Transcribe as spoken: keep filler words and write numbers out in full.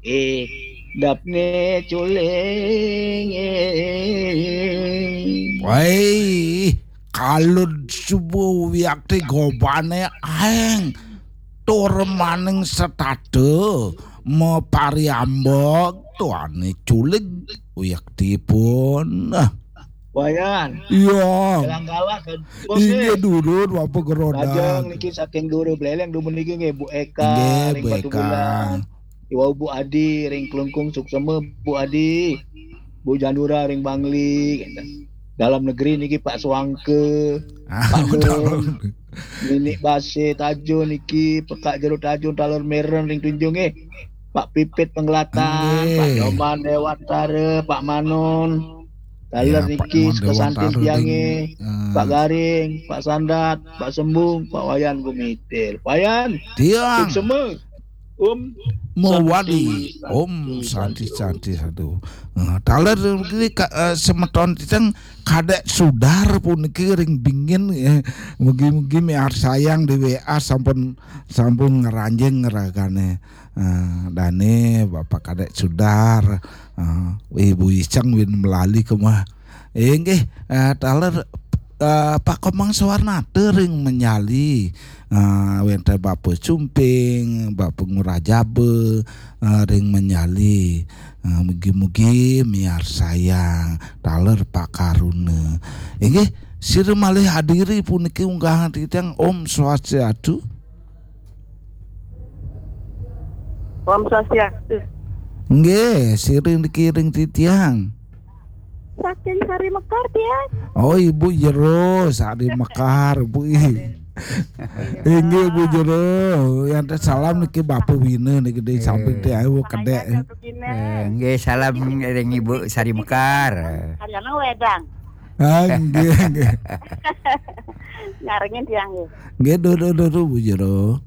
Idapne culing. Wai, kalun subuh wiakti gobane aeng. Tur maning setata mapariambek tuane culing wiakti pun. Wayan. Iya. Galang-galang kan. Inggih durun Bapak Gerodak. Lajeng niki saking Dura Bleleng dumun niki nggih Bu Eka. Nggih, ring Bu Batu Eka. Bulan. Iwau Bu Adi ring Klungkung, suksema Bu Adi. Bu Janura ring Bangli. Dalam negeri niki Pak Suangke. Ah, Pak Nun. Ninik Base Tajun niki, Pekak Jero Tajun, taler Meren ring Tunjung nggih. Pak Pipit Penggelatan, nggih. Pak Nyoman Dewantara, Pak Manon. Taler ya, niki Pak Manon Dewantara tiang nggih. Pak Garing, Pak Sandat, Pak Sembung, Pak Wayan Gumitir. Wayan. Tiang. Suksema. Om Mawali. Santi, Om Santi, Santi, Santi, Santi. Nah, taler niki ka-, eh, semeton titang Kadek Sudar puniki ring Bingin, eh, mugi-mugi miarsayang di W A sampun, sampun ngranjing ragane. Eh, dane Bapak Kadek Sudar, eh, Ibu Iceng win melali kemah. Inggih, eh, taler, eh, Pak Komang Suwarnata ring Menyali. Eh, wenten Bapak Sumping, Bapak Ngurah Jaba, eh, ring Menyali. Eh, mugi-mugi miarsayang taler Pak Karuna. Inggih, sira malih hadiri puniki unggahan titiang. Om Swastiastu. Om Swastiastu. Nggih, sira niki ring titiang. Saking Sari Mekar, tiang. Oh, Ibu Jero, Sari Mekar, Bu. Inggih, Bu Jero. Yang salam niki Bapak Wina niki di samping tiang, Bu, kedek. Samping Bapak Wina. Eh, nggih, salam ring Ibu Sari Mekar. Hari anak wedang. Ah, nggih, nggih. Ngarengin tiang nggih. Nggih, duh, duh, duh, duh, Bu Jero.